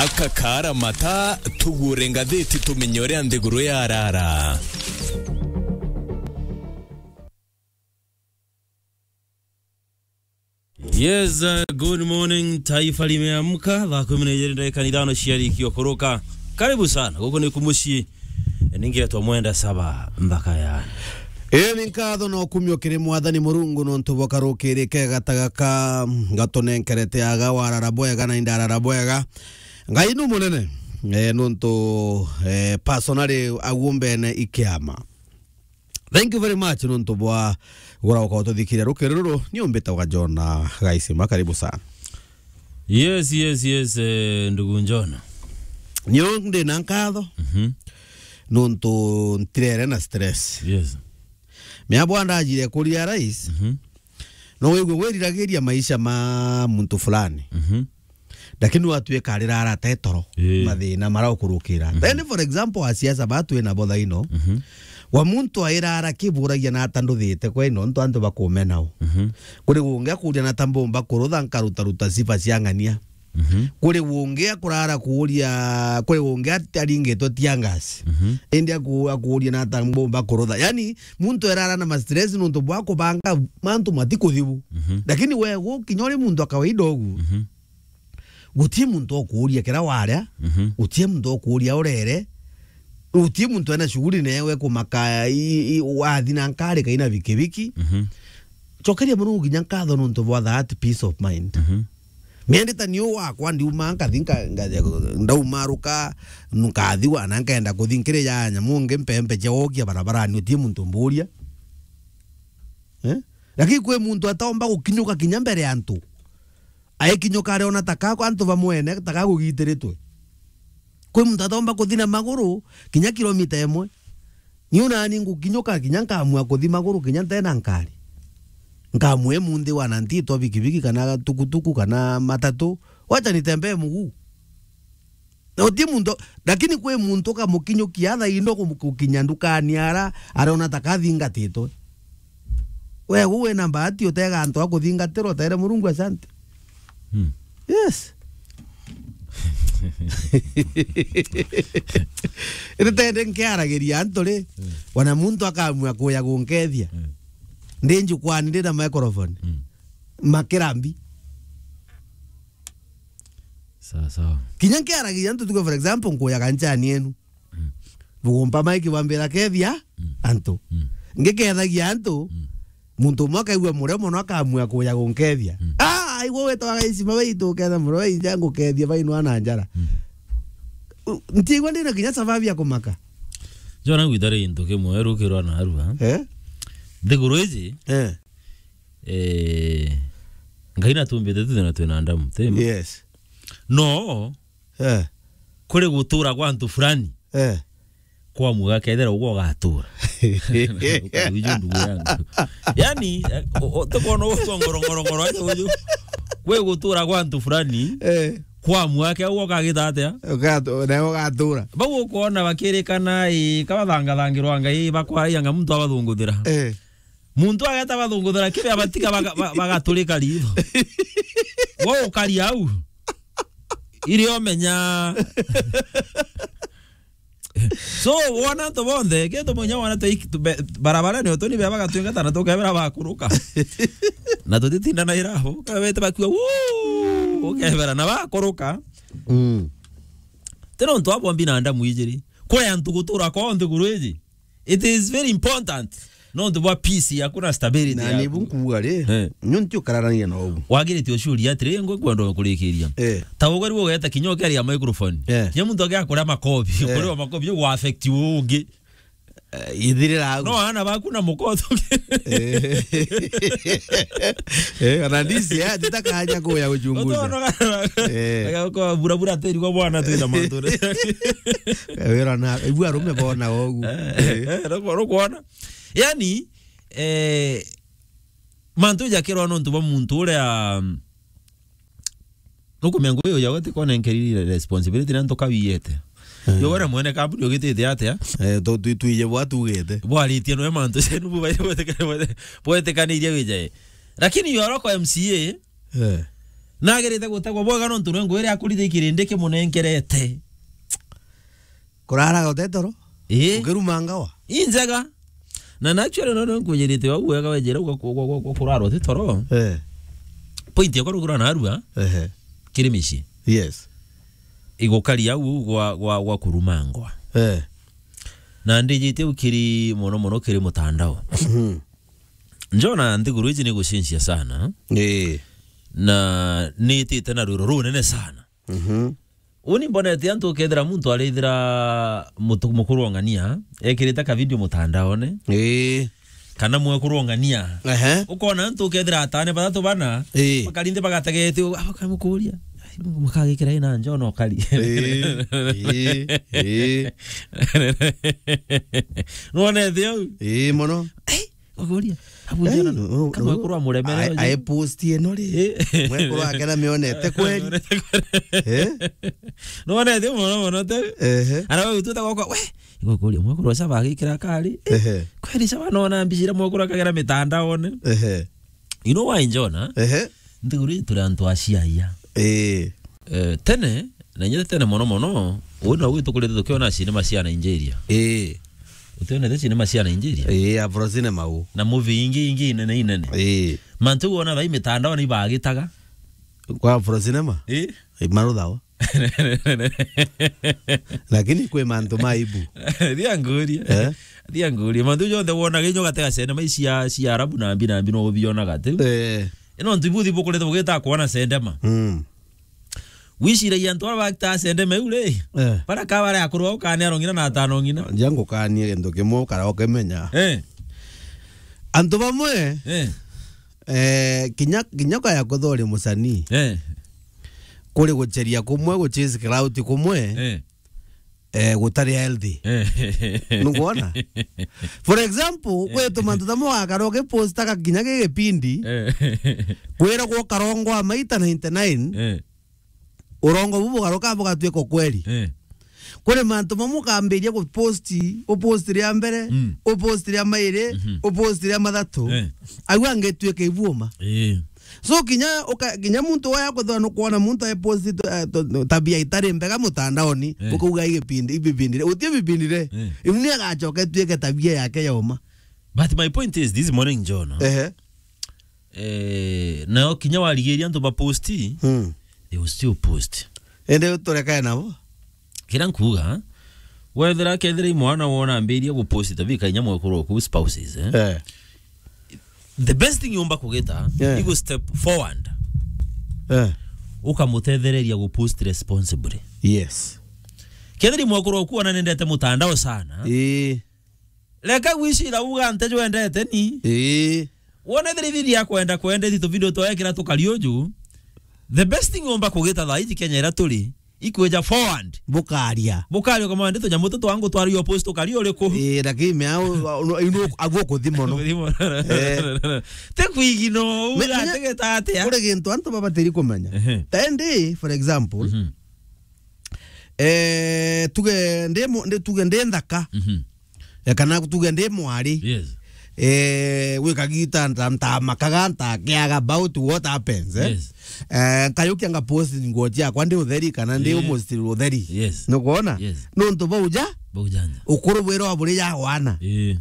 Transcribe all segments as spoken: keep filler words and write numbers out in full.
Kakara mata, tugure ngathiti tumenye uria nthiguru yarara. Yes, uh, good morning, taifa limeamka. Thaa kumi na ijiri ndagika ni ithano ciarikio kuruka. Karibu sana. Guku ni ku mucii. Ningetwa Mwenda Saba, nthaka ya. Ii ni nkatho na ukumio kiri Mwathani Murungu nontu bwa karukiri kega ta gaka gatunenkerete aga warara bwega na indarara bwega. Ngai nu munene, eh, nontu, eh, personally agumbene ikiama. Thank you very much nontu bwa gura ukao tuthikiria rukiri ruru. Ni umbite wa Jona Gaisima, karibu sana. Yes, yes, yes, eh, ndugu Njona. Nio ndi na nkatho. Mhm. Nontu ntirere na stress. Yes. Mea bwa ndajire kuria rais. Mhm. No wigwe wiriragiria maisha ma muntu fulani. Mhm. Lakini watuika arirara te toro, ii, mathina mara ukurukira. Mhm. Then, for example, a siasa ba twina bo thaino, mhm, wa muntu airara kiburagia na ata nduthite kwa ino, ntu antu bakumena u. Mhm. Kuri ungi akuria na ata mbumba kurutha nkarutaruta sifa cia ng'ania. Mhm. Kuri ungi akurara kuuria, kuri ungi ati-, aringitwe tear gas. Mhm. Indi aku-, akuuria na ata mbumba kurutha. Yani, muntu erara na ma stress nontu bwa kubanga mantu matikuthibu. Mhm. Lakini we gukinya uri muntu wa kawaida ugu, mhm, guti muntu ukuuria kira waria, mhm, guti muntu ukuuria urere, guti muntu ena shughuli newe kumaka i, i, wathi na nkari kaina bikibiki. Mhm. Cokeria Murungu kinya nkatho nontu bwa that peace of mind. Mhm. Miendi ta niu wakwa ndiuma nkathi nka-, nga-, ndaumaruka, nkathi wana nkenda kuthi nkiri ya nyamu ngi mpempe cia wokia barabarani uti muntu mburia. Eh? Lakini kwi muntu ataomba gukinyuka kinya mbere ya antu. Aikinyuka ariona ta ka antu bamwene ta ka gugitiritwe. Kwi muntu ataomba kuthi na maguru kinya kilomita imwe. Niu nani ngukinyuka kinya nkamua kuthi maguru kinya ntena nkari. Nkamua imunthi wana ntitwa bikibiki kana tukutuku kana matatu. Wacha nitembee muguu. Na uti muntu, lakini kwi muntu ukamukinyukia thaa indo kum-, gukinya ndukani ara, arona ta kathingatitwe. We, gu wina mbati utega antu a kuthingatirwa, utere Murungu asante. Hmm. Yes. Ritende nkiaragiria antu ri, hmm, wana muntu akamua kuya gunkethia. Hmm. Ndi njukwani, ndi na microphone. Hmm. Makirambi. Sawa, sawa. Kinya nkiaragiria antu, tuge, for example, nkuyaga nchani yenu. Mm. Bugumpa maiki bwambira kethia, mm, antu. Mm. Ngikethagia antu, mm, muntu umwe akaigua murio mono akamua kuya gunkethia. Mm. Ah, aigua wetwa gaicima baitu uketha murio bainja ngukethia bainwa na njara. Mm. U-, ntiigua ndina kinya sababu ya kumaka. Jona ngwita ri into kimwe rukirwa na arua. Eh? Nthiguru iji, eh, eh, Ngai natumbite tuthina twina ndamu, ti ma? Yes. No, eh, kuri gutura gwa antu fulani, eh, kwa muga kethira ugwo ugatura. Uju ndugu yangu. Yani, eh, o-, o-, tukwona ugu ngoro, ngoro, ngoro, aja uju. Kwi gutura gwa antu fulani, eh, kwa muga ke ugwo ukagita atia? Ugatu-, nawe ugatura. Bau ukwona bakirikana, ii, kabathangathangirwa Ngai, bakwaragia nga muntu abathunguthira. Eh. Muntu ageta bathunguthira kibe abatiga baga-, ba-, bagaturika ritho. Wo ukaria au. Iri omenya. So, wona antu bonthe, kintu munya wona twi-, tube-, barabara ni utuni bia bagatwingata na tukebera bakuruka. Na tutitinda na irabo, kabete bakua, wuu, ukebera na bakuruka. Mm. Tena untu abombi na ndamu ijiri. Kuri antu gutura kwa nthiguru iji. It is very important. Nontu bwa peace yaku na stability yaku. Na nibu nkuuga ri, eh, nyo nti ukararania na ubu. Wagirite ucuria atiri, ngwe kwenda kurikiria. Eh. Ta ugwe riu ugeta kinya ukeria microphone. Eh. Kinya muntu agia kuria makobi, eh, kuria makobi, ugwa affect ungi. Eh, ithirira au. No, ana baku na mukoto. Eh. Eh, ona ndisi, eh, titakaja kuya uchunguza. Utono kana, eh, kana kwa bura bura teri kwa bwana twina mantu. Eh, wira na, ibu arume bona ogu. Eh, eh, eh, no, no kuona. Yani, eh, mantu jakirwa nontu bwa muntu uria, um, nukumenya ngugi uyu yawe ti kona nkeriri responsibility na ntuka wiyete. Eh. Yo wona mwene kambuni ugitite atia? Eh, tu, tu, tuije bwa tugite. Bwaritie no mantu cenu bu baire bwetekanirie wijae. Lakini yo roko M C A, eh, Nagerete gutegwa bwega nontu nwe ngwire akuririe kirindi kimunengerete. Kuraraga utetoro? Ii. Ukiruma ngawa? Injega. Na, na actually no, no nkwinjirite au wega wenjira uga ku-, ku-, ku-, ku-, kurara utetoro. Eh. Point yakwa rugura narua. Ehe. Kiri micii. Yes. Igukari au gwa, gwa, gwa kurumangwa. Eh. Na ndijitie ukiri mono mono kiri mutandao. Mhm. Njona nthiguru iji ni gucenjia sana. Ii. Na nitite na rwiro runene sana. Mhm. Uni mbonete antu ukethira muntu arithira mutu-, mukuru wa ng'ania, ekirite ka video mutandaone. Ii. Kana mwekuru wa ng'ania. Ehe. Ukona antu ukethira atane bathatu bana, ii, bakarinde bagategete, u-, abakamukuria. Ai, mukagikira ina njono kari. Ii, ii, ii. Nuonete au? Ii, mono. Ai, Uguria. Abu Ai, jana, no, no, kamwe no. Kurwa muremere. Ai, ai post ino ri. Eh. Mwe kurwa akena mionete kweli. Eh? No wana thio mono mono te. Ehe. Ara wewe tu ta goko, we. Igukuria mwe kurwa saba agikira kari. Eh. Ehe. Kweli saba no na mbijira mwe kurwa kagera mitandaone. Ehe. You know why, Njona? Ehe. Nthiguru ii turi antu a ciaia. Ii. Eh, tene, na inya tene mono mono, uu na uu tukurite tukiona cinema cia Nigeria. Ii. Utionete cinema cia Nigeria? Ii, Afro cinema uu. Na movie ingi, ingi inene inene. Ii. Mantu uu wona thaa ii mitandaone ibagitaga. Kwa Afro cinema? Ii. Ii, maruthawa. Lakini kwi mantu ma aibu. Thia ngurie. Eh? Thia ngurie. Mantu jonthe wonaga inyo gatega cinema ici cia, cia Arabu na mbi na mbi no ubionaga ati. Eh. Ino ntu ibuthi bukurite bugita kuona cinema. Mm. Wiciragia antu bara bakita cinema iu ri? Eh. Bara ka bare akuru au kana arong'ina na atano ng'ina. Nja ngukanie kintu kimwe ukara ukimenya. Eh. Antu bamwe, eh, eh, kinya, kinya kaya kuthori musanii. Eh. Kuri gucheria kumwe, guchase crowd kumwe. Eh. Eh, gutari healthy. Eh. Nukwona? For example, eh, kwetu mantu tamo gakara ugipostaga kinya gi gipindi, eh, kwira gwo karongo a maita ninety-nine, eh, urongo bu bugaruka bugatuika ukweli. Eh. Kuri mantu mamwe ukambiria guposti, uposti ria mbere, mm, uposti ria mairi, mhm, uposti ria mathatu, eh, au angituika ibuuma. Eh. So kinya uka-, kinya muntu waya kuthwa nukwona muntu ai post to-, eh, to-, to-, tabia itari mbega mutandaoni, eh, ukauga igipindi, ibipindire, uti bipindire. Eh. Iu ni agacoka ituike tabia yake yoma. But my point is this morning, John, ehe, eh, nao kinya warigiria antu ba post, hmm, they will still post. Ende uturekae nabo. Kira nkuga, wethira kethira i mwana wona ambirie gupost tabika inya mwekuru oku spouses, eh? Eh. The best thing yumba kugita, eh, igu step forward. Eh. Ukamutethereria gupost responsibly. Yes. Kethira i mwekuru oku ona nendete mutandao sana. Ii. Reka gwicira uga nte jwendete ni. Ii. Wona thiri thiri ya kwenda kwenda iti tuvideo twekira tukari uju. The best thing yumba kugita thaa iji Kenya ira turi, ikwija forward. Bukaria. Bukaria kama ndi tunyamu tu twangu twari yo post tukari uriku? Ii, lakini me au, au, au, au, aguo kuthi mono. Kuthi mono. Eh. Te kwigino, menya, uga tegeta atia? Kuri gintu antu babatiri kumenya. Ehe. Tendi, for example, mhm, eh, tuge ndi mu-, ndi, tuge ndi nthaka. Mhm. Eh, kana tuge ndi mwari. Yes. Eh, gwikagita nta-, ntamakaga, ntakiaga about what happens, eh? Yes. Eh, nkayukia nga post nguo ciakwa ndi utheri kana ndi, eh, almost utheri. Yes. Nukwona? Yes. Nuntu bau ja? Bau ja nja. Ukuru bwirwa buri ja wana. Eh.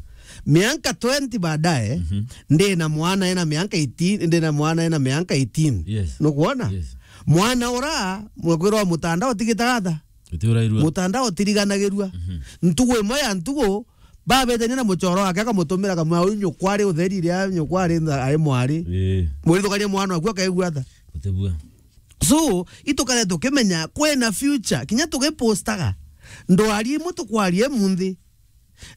Mianka twenty baadaye, mhm, ndi na mwana ena mianka eighteen, ndi na mwana ena mianka eighteen. Yes. Nukwona? Yes. Mwana ura, mwekwirwa mutandao tigitagatha. Uti urairua. Mutandao utiriganagirua. Mhm. Ntugu imwe ya ntugu, babetania na muchoro wake, akamutumira kamwe, "Uyu nyukwa ari utheri ria nyukwa ari ntha-, ari mwari." Ii. Murithukaria mwana waku akaigua tha. Utibua. So, itukare tukimenya kwina future, kinya tugipostaga. Ndwari imwe tukwaria imunthi.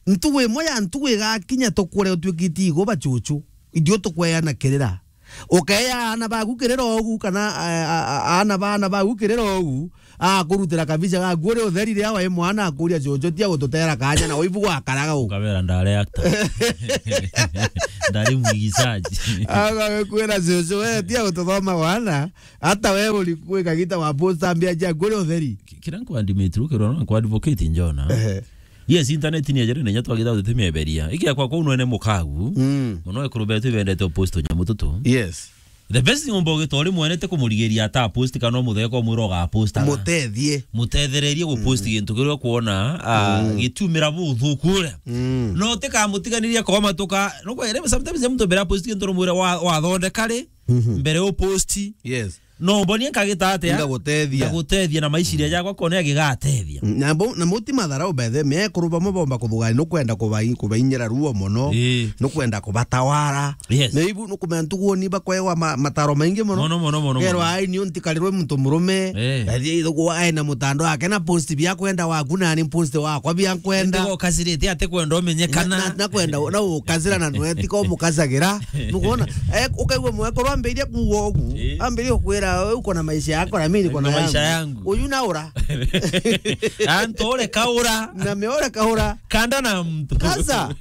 Ntugu imwe ya ntugu igakinya tukure utuikite igo bachuchu. Ithiu tukweana kirira. Ukeya aana baku kirira ugu kana, a-, a-, a-, aana ba aana baku kirira ugu, akurutira kabicha gaku uri utheri riria wai mwana akuria, "Chuchu, tia gututera kanya na waibu gwakaraga u." Ukabera, "Ndare actor." Ndari mwigizaji. Agakwira, "Chuchu, we tia gututhoma wana, hata we uri kwikagita wa posta mbia ciaku uri utheri." Ki-, kira nkwa admit, rukirwa na nkwa advocate njona. Ehe. Yes, internet ni ejere nenya twagitha tutimieberia. Iki akwa kuu nwene mukagu. Mm. Muno ekuru betu ibendete upost nyamu tutu. Yes. The best thing umba ugita uri mwene ti kumurigiria ata post kana umutheka umwira uga post. Mutethie. Mutethererie gu post gintu kiria ukwona, ah, gitiumira buthuku uria. Mm. No utikamutiganiria komatuka. No kwa sometimes muntu mbere ya post gintu rumwira wa, wathondeka ri, mbere u post. Yes. No mbonie nkagita atia? Ngagutethia. Ngagutethia na maiciria jakwa kone agigatethia. Mm, na bo-, na muti matharau bethe, mekuru bamwe bomba kuthugani, nukwenda kubai-, kubainyira ruo mono, ii, nukwenda kubatawara. Yes. Na ibu nukumenya ntuguoni bakwewa ma-, mataro maingi mono. Mono, mono, mono, mono. Kerwa ai ni untikarirwe muntu murume, eh, athie ithugu ae na mutando wake na post bia kwenda waku na ni post wakwa bia kwenda. Ndio kasirite ate kwenda umenyekana. Na, na, na kwenda, na ukazira na nwe, ti ko mukazagira. Nukwona? Eh, ukaigua mwekuru ambiria kuuga ugu. Eh. Ambiria kukwira, "Wewe uko na maisha yako na mimi niko na maisha yangu." Uyu na ura. Antu ore kaura. Na me ore kaura. Kanda na mtu. Kaza.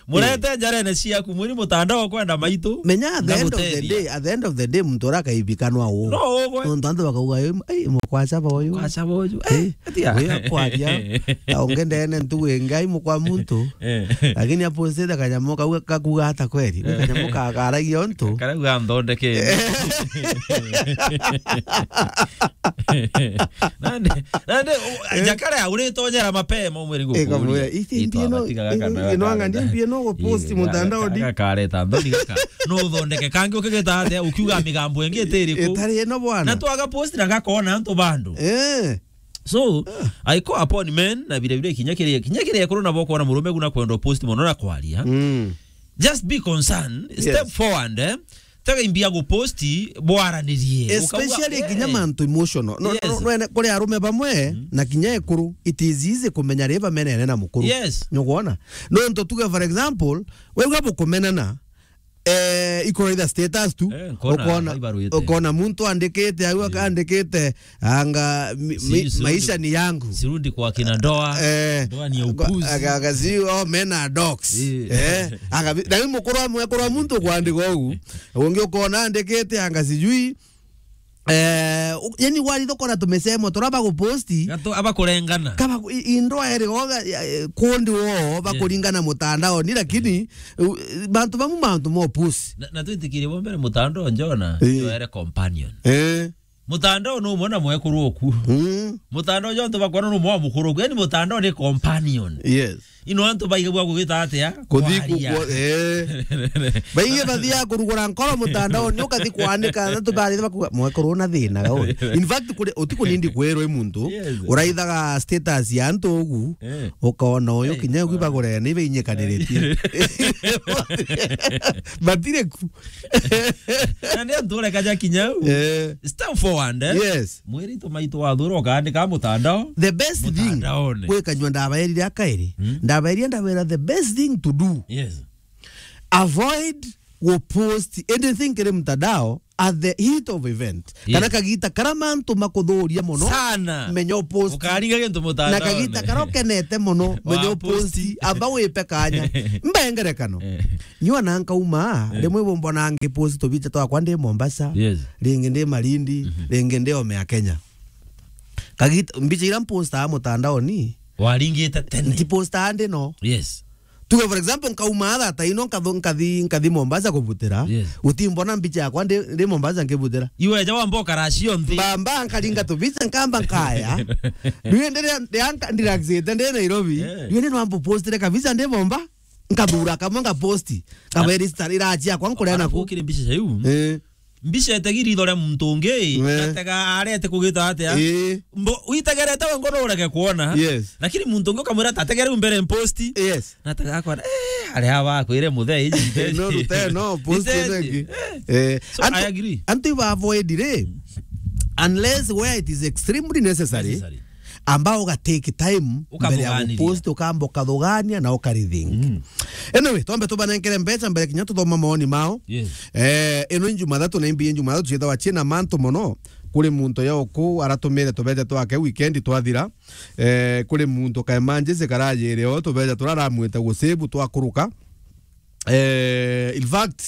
Murete njarene ciaku, mwiri mutandao kwenda maitu. Menya at the end of the day, at the end of the day, muntu ura akaibikanwa u. No ugwe. Nontu antu bakauga, "Ei, ei, mukwacha boyu." Mukwacha boyu. Eh, eh, atia? Uyu akwaria. Na ungi ndene ntugu ingi, ai mukwa muntu. Eh. Lakini apostite kanyamu kau gakuga ata kweri? Ni kanyamu kakaragia untu. Karauga nthondeke. Nande, nande, u-, eh, jakare auritonyera mapema umwiri. Eh, ngukuria. Iti mpie no, ino ang'ania mpie no gupost mutandao ndi. Gakareta nthoni gaka. No uthondeke kangi ukigita atia, ukiuga migambo ingi itiri ku. Itari ino bwana. Na twaga post na gakona antu bandu. Eh. So, I call upon men, na vile vile kinya kiria, kinya kiria ekuru nabo kwona murume guna kwenda post mono na kwaria. Mm. Just be concerned, step forward, eh. Tega imbia gupost, bwaranirie. Especially kinya mantu emotional. No, no, no, kuri arume bamwe, na kinya ekuru, it is easy kumenya ri bamenene na mukuru. Yes. Nukwona? Nontu tuge, for example, we uga bukumenana, eh, ikoro itha status tu, eh, nkona, ukona, ibaru ite, ukona muntu andikite, au akandikite, anga, mi-, mi-, maisha ni yangu. Sirudi kwa kina ndoa. Eh, ndoa ni ya upuzi. Aga, aga, si, oh, men are dogs. Eh. Eh, aga, na wi mukuru wa mwekuru wa muntu kwandika ugu. Ungi ukona andikite, anga sijui, eh, u-, yani wari thokora tumesemo, tura baguposti. Gato, abakurengana. Kaba, i-, i ndoa eri goga, ya, eh, kundi wo, bakuringana mutandao ni, lakini, u-, bantu bamu mantu mo pusi. Na, na twitikirie bo mbere mutandao njona, eh, yo ere companion. Eh. Mutandao no mwana mwekuru oku. Mm. Mutandao jonto bakwana no mwa mukuru oku. Yani mutandao ni companion. Yes. Ino antu baigagua kugita atia? Kuthi ku-, kwaria. Ku-, eh. Baige bathia kurugura nkoro mutandao ni ukathi kwanika na tubari bakuga mwekuru na thina ga uri. In fact kuri utiku nindi kwirwe muntu, yes, uraithaga status ya antu ugu, eh, ukona uyu, eh, kinya ugu bagure ni beinyikaniritie. Batire ku. Na ndio ntureka ja kinya u. Eh. Step forward, eh? Yes. Mwiri tu maitu wathura ukaandika mutandao. The best thing, mutandaone, gwikanyua ndabaerire akairi. Hmm? Ndabaerire, ndabera the best thing to do. Yes. Avoid go post anything kiri mutandao at the heat of event. Yes. Kana kagita kara mantu makuthuria mono. Sana. Menya upost. Ukaringa gintu mutandao. Na kagita kara ukenete mono, menya upost. Wa post. Amba wipe kanya. Mbengerekano. Eh. Nyua na nkauma, eh, rimwe bumbona ngipost tubicha twakwa ndi Mombasa. Yes. Ringi ndi Malindi, mhm, ringi ndi ome ya Kenya. Kagita, mbicha ira mpostaga mutandaoni. Waringite tene. Ntipostaga ndi no. Yes. Tuge, for example, nkauma thaa ino, nkatho-, nkathi, nkathi Mombasa kubutira. Yes. Utimbona mbicha yakwa ndi, ndi Mombasa nkibutira. Iwe ja wamba ukara cionthe. Mbamba nkaringa tubicha, nkamba nkaya. Riu ndi ria, ria nka-, ndirelaxite ndi Nairobi. Eh. Riu ndi nwamba postire kabicha ndi Momba. Nkathura kamwe nkaposti. Kaberi star irachi yakwa nkuria naku. Ukire mbicha cia iu. Eh. Mbica etegi ritho ria muntu ungi, eh, natega arete kugita atia? Eh. Mbo-, witegerete we ngono urege kuona. Yes. Lakini muntu ungi ukamwira, "Tategere u mbere mposti." Yes. Natega akona, "Eh, ari aba akwire muthee iji." No, rute, no, post itengi. Eh. Eh. So, antu, I agree. Antu iba avoid ri, unless where it is extremely necessary. Necessary. Amba uga take time mbere ya ukathuganiria, gupost, ukamba ukathugania na ukarithink. Mm. Anyway, twambe tubanenkere mbeca mbere kinya tuthoma maoni mao. Yes. Eh, ino ni Jumathatu na imbi Jumathatu ciethawa ciina mantu mono. Kuri muntu ya uku aratumire tubeca twake weekend twathira. Eh, kuri muntu ka emergency karajire o tubeca turaramwite gusebu twakuruka. Eh, in fact,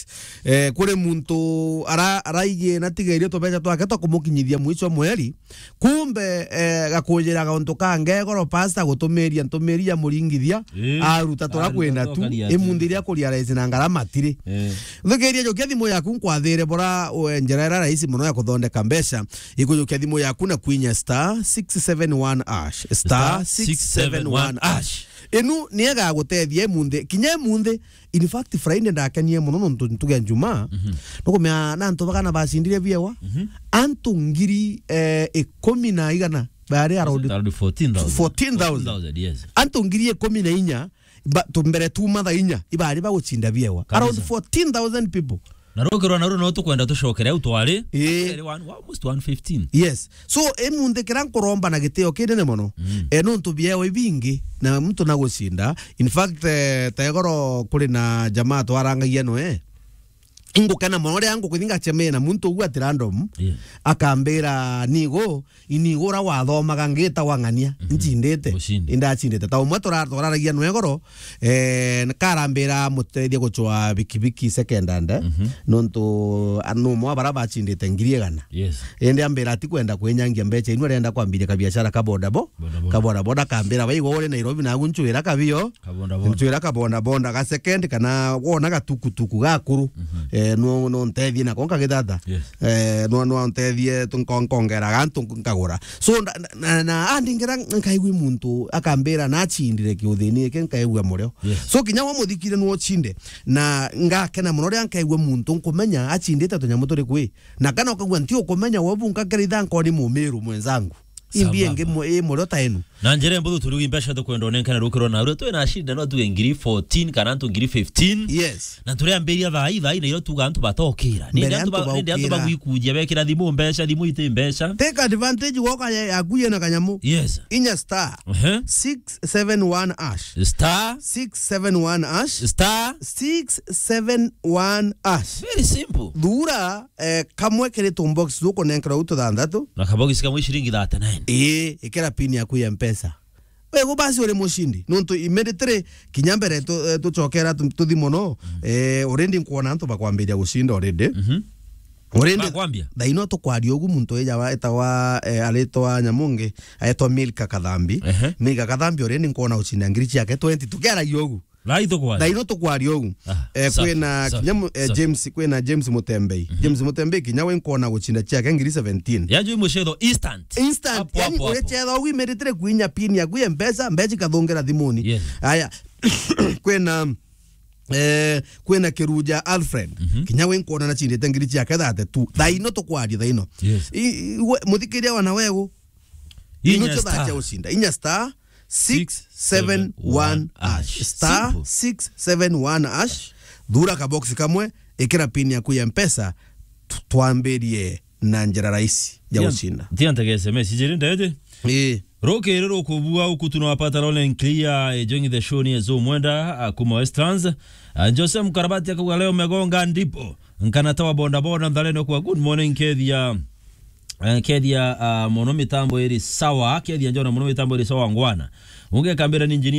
eh, kuri muntu ara-, araigie na tigerie tubeca twake twa kumukinyithia mwisho mweri, kumbe, eh, gakujira gauntu kange goro pasta gutumiria ntumiria muringithia, eh, aruta tura aruta kwenda tura tu, karia tu. Imunthi iria kuria raisi na ngarama tiri. Eh. Thukiria, njokia thimu yaku nkwathire bora, we, njira ira raisi muno ya kuthondeka mbeca. Ikujukia thimu yaku na kwinya star six seven one hash. Star six seven one hash. Inu ni egagutethia imunthi, kinya imunthi. In fact, Friday ndakenie muno nontu ntuge ya Jumaa, mhm, nukumea na antu bagana bacindire biewa. Mhm. Antu ngiri, eh, ikumi na igana bari around around fourteen thousand. Fourteen thousand. Fourteen thousand, yes. Antu ngiri ikumi na inya, ba-, tu mbere tu mathaa inya, ibari bagucinda biewa. Kabisa. Around fourteen thousand people. Na rukirwa na ru no tukwenda tucokere au twari. Ii. Twari one, almost one fifteen. Yes. So, imunthi kira nkuromba na gitio kinene mono. Mm. Eh, nontu biewa ibingi, na muntu nagucinda. In fact, eh, tegoro kuri na jamaa twarangagia noe. Ingukena mono ria ngukuthi ngacemee na muntu ugu ati random. Yeah. Akambira, "Nigo, ini ura wathomaga ngita wang'ania, mhm, ncindite." Ucinde. Indacindite. Ta umwe tura-, turaragia noe goro, eh, karambira mutethia gucwa bikibiki second hand, eh, mhm, nontu, a, numwe wa bara bacindite ngiri igana. Yes. Indi ambira ati kwenda kwinyangia mbeca inu, arenda kwambiria kabiashara ka bodaboda. Bodaboda. Ka bodaboda, akambira, "Baigwa uri Nairobi, nagu ncwira kabio." Kabonda bonda. Ncwira kabonda bonda ga second, kana wona gatukutuku gakuru. Mhm. Eh, no, no ntethie nako nkagithata. Yes. Eh, no, no ntethie tu nko-, nkongera gantu nkagura. So, nda-, na, na, na, andingira nkaigua muntu akambira na acindire kiuthini iki, nkaigua murio. Yes. So, kinya wa muthikire no ocinde. Na ngakena muno ria nkaigua muntu nkumenya acindite tunyamu turi kwi. Na kana ukagua nti ukumenya, we bu nkakeritha nkoni mumiru mwenzangu. Imbi ingi mu-, i murio ta inu. Na njira mbuthu turugi mbeca tukwenda onenkana rukiro na uru twina shida no tuge ngiri fourteen kana antu ngiri fifteen. Yes. Na turiambiria thaa ii, thaa ii na iro tuga antu batokira. Mbere nindi antu antu ba-, nindi antu baukira. Bagwikujia bekira thimu mbeca, thimu iti mbeca. Take advantage woka ya, yaku yena kanyamu. Yes. Inya star. Ehe. Six seven one hash. Star. Six seven one hash. Star. Six seven one hash. Very simple. Thura eh, kamwe kiri tumbox tukunenkerwa u tuthanthatu. Na kabox kamwe ciringi thirty-nine. Ii, ikira pin yaku ya Mpesa. Wegu basi uri mucindi. Nontu immediately kinya mbere tu-, eh, tucokera tu-, tuthi mono, mm, eh, already nkwona antu bakwambiria gucinda already. Mhm. Already bakwambia? Thaino tukwaria ugu muntu ija wa-, etagwa, eh, aritwa nyamungi, aetwa Milka Kathambi. Ehe. Milka Kathambi already nkwona ucinda ngiri ciake twenty tukiaragia ugu. Thaa ii tukwaria. Thaa ino tukwaria uu. Ah, eh, safi, kwina safi, kinya mu-, eh, safi. James, kwina James Mutembei. Mhm. James Mutembei kinya we nkona gucinda ciake ngiri seventeen. Yanju i mucetho instant. Instant. Hapo, yani, hapo, hapo. Urecetha uu imeritire kwinya pin yaku ya Mpesa, mbeca ikathungira thimuni. Yes. Aya. Kwina, eh, kwina Kiruja Alfred. Mhm. Kinya we nkona nacindite ngiri ciake thirty-two. Thaa ino tukwaria, thaa ino. Yes. I, i, we, muthikiria wana wegu. Inya ino cio thaa star. Cia gucinda. Inya star six seven one hash. Simple. Star six seven one hash. Thura kabox kamwe, ikira pin yaku ya Mpesa, tu-, twambirie na njira rahisi ya gucinda. Tia ntege S M S, ijiri ndete? Ii. Rukiri rukubua ukutu na wapata Roland Clear, eh, Joing the Show ni Ezo Mwenda, ah, kuma Westlands. Ah, Jose Mkarabati akauga leo megonga ndipo. Nkana tawa boda boda ntharene kwa good morning, Kethia. Eh, Kethia, ah, mono mitambo iri sawa, Kethia njona mono mitambo iri sawa ngwana. Unge kambira ni engineer